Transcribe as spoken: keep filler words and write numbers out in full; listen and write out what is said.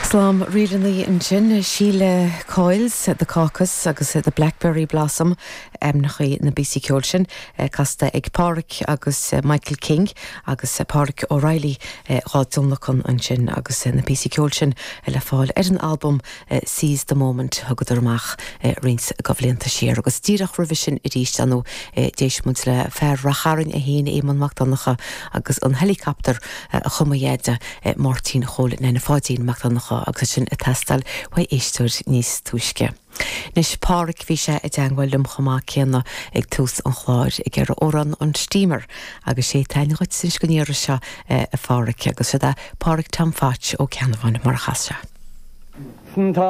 Slám rílanna ansin Sheila Coyles, The Caucus agus the Blackberry Blossom ainmneacha na bpíosaí ceoil sin casta ag Pádraig agus Michael King agus Pádraig O'Reilly dhá dtionlacan ansin agus na píosaí ceoil sin le fáil ar an album Seize the Moment thugadar amach roinnt de bhlianta siar agus díreach roimhe sin arís anú d'éist muid le fear Ráth Chairn é féin Éamonn Mac Donncha agus an helicopter a chum a dheaide Máirtín Chóil Neine Pháidín Mac Donncha agus sin ag teastáil ó éisteoir níos túisce. Anois Pádraig bhí sé i dteagmháil liom chomh maith céanna ag tús an chláir ag ar amhrán an Steamer agus sé tain chuit sin go níor seo a Phádraig agus sé Pádraig Tom Phatch ó Ceannabháin mar a chas sé. Tá